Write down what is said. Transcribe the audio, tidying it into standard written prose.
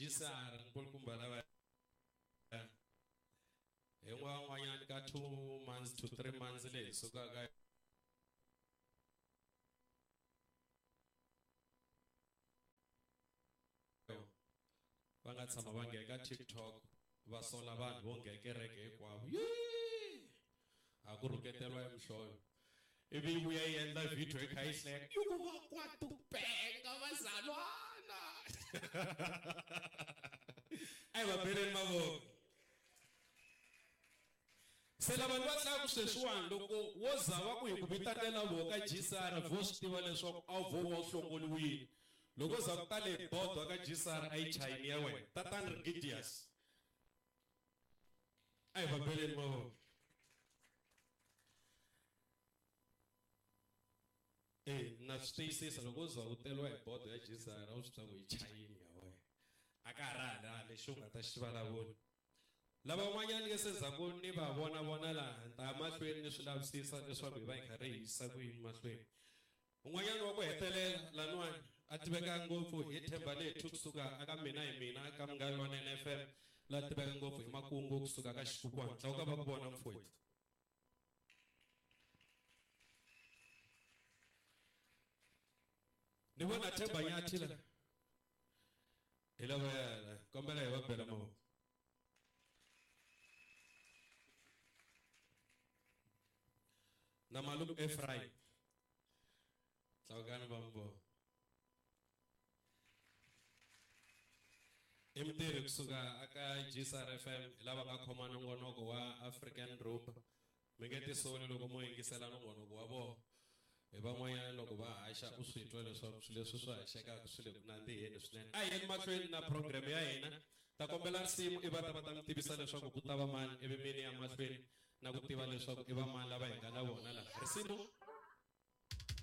GCR nkulukumba lava hi n'wan'wanyana ka 2 months to 3 months leyi sukaka va nga tshama va nghena ka TikTok va sola vanhu vo nghena kereke hinkwavo a ku rhuketeriwa emihlovo ivi yi vuya yi endla video yi kha yi hleka yi ku va kwatupenga vazalwana a hi va beleni mavoko se lava va tlanga sweswiwani loko wo za va ku hi ku vitanela vo ka GCR vo swi tiva leswaku a wu vo va u hlongoliwile loko za ku tale bodo ka GCR a yi chayini ya wena tatani Rigidius a hi va beleni mavoko e na swi tiyisisa loko u za u teriwa hi bodo ya GCR a wu swi tiva ku yi chayini ya wena a ka ha ri hala lexi u nga ta xi vulavula lava van'wanyana ke se ndzhaku ni va vona vona laha ni ta ya mahlweni ni swi lavisisa leswaku hi va hi karhi hi yisa ku yini mahlweni un'wanyana wa ku hetelela laniwani a tiveka ngopfu hi Themba Lethu kusuka aka Mina hi Mina ka Munghana Lonene FM la tiveka ngopfu hi makungu kusuka ka Xikukwana tlakuka va ku vona mfowethu ni vona Themba Nyathi la hi lavaya kombela hi va bela mavoko na malume Ephraim tlakukani va mi i mutirhi kusuka aka GCR FM hi lava nga khoma nongonoko wa African Rumba mi nge tisoli loko mo yingisela nongonoko wa vona hi van'wanyana loko va haxa u swi twa leswaku swilo leswi swi haxekaka swi le ku nandziheni swinene a hi yeni mahlweni na program ya hina ta kombela risimu i va ta va ta mi tivisa leswaku ku ta va mani ivi mini ya mahlweni na ku tiva leswaku i va mani lava hi nga na vona laha risimu.